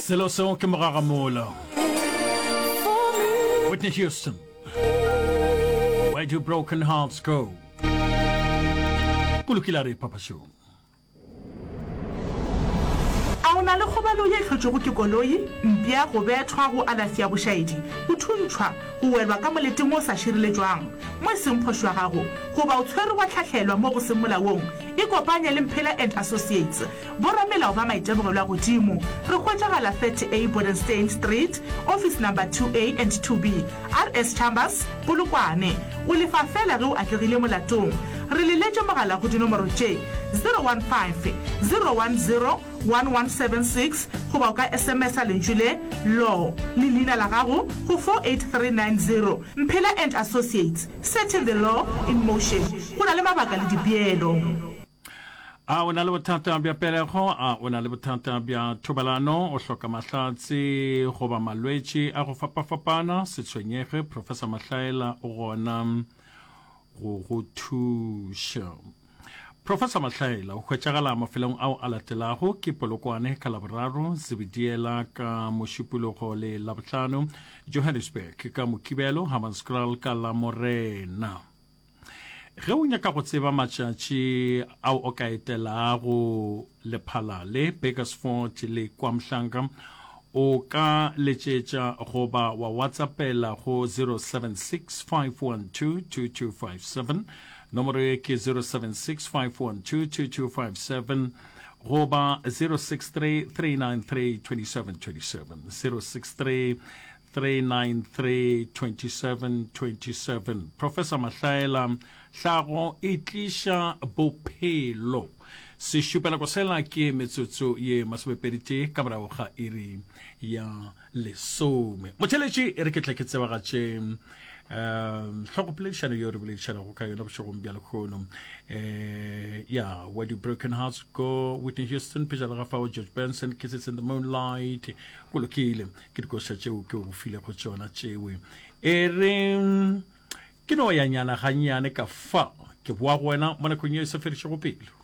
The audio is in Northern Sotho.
Selo seo ke mogagamola. Whitney Houston. Where do broken hearts go? Go lokile a re Papa Show. A o na le kgobalo ye e hlotšwego ke koloi, mpša, go bethwa, go alafša bošaedi, go thuntšhwa, go welwa ka moleteng wo o sa šireletšwang, mo e seng phošo ya gago, goba o tshwerwe wa hlahlelwa mo go seng molaong? Ikopanye le Mphela and Associates, boramelao ba maitemogelo a godimo. Re hwetšagala 30A Bodenstein Street, Office Number 2A and 2B, RS Chambers, Polokwane. O lefa feela ge o atlegile molatong. Re leletše mogala go dinomoro tše, 015 010 1176 goba o ka SMS-a lentšu le, Law, le leina la gago go 48390. Mphela and Associates, setting the law in motion. Go na le mabaka le dipeelo. A o na le bothata bja pelego? A o na le bothata bja thobalano? O hloka mahlatse goba malwetši a go fapafapana? Se tshwenyege, Professor Mahlaela o gona go go thuša. Professor Mahlaela o hwetšagala mafelong ao a latelago ke Polokwane ka Laboraro, Zebediela ka Mošupologo le Labohlano, Johannesburg ka Mokibelo, Hammanskraal ka Lamorena. Ge o nyaka go tseba matšatši ao o ka etelago Lephalale, Burgersfort le KwaMhlanga, o ka letšetša goba wa WhatsAppela go 076 512 2257. Nomoro ye ke 076 512 2257 goba 063 393 2727. 063 393 2727. Professor Mahlaela, Hlago e tliša bophelo. Sešupanako sela ke metsotso ye masomepeditee ka morago ga iri ya lesome. Motheletši, e re ke tle ke tsebagatše um hlogopoledišano yeo re boledišanago ka yona bošegong bja lekgono. Um ya Where Do Broken Hearts Go, Whitney Houston, pejana ga fao George Benson, Kisses in the Moonlight. Go lokile. Ke dikoša tšeo ke go filego tšona tšewe. E re ke no ya nyana gannyane ka fa, ke boa go wena mo nakong ye e sa fedišego pelo.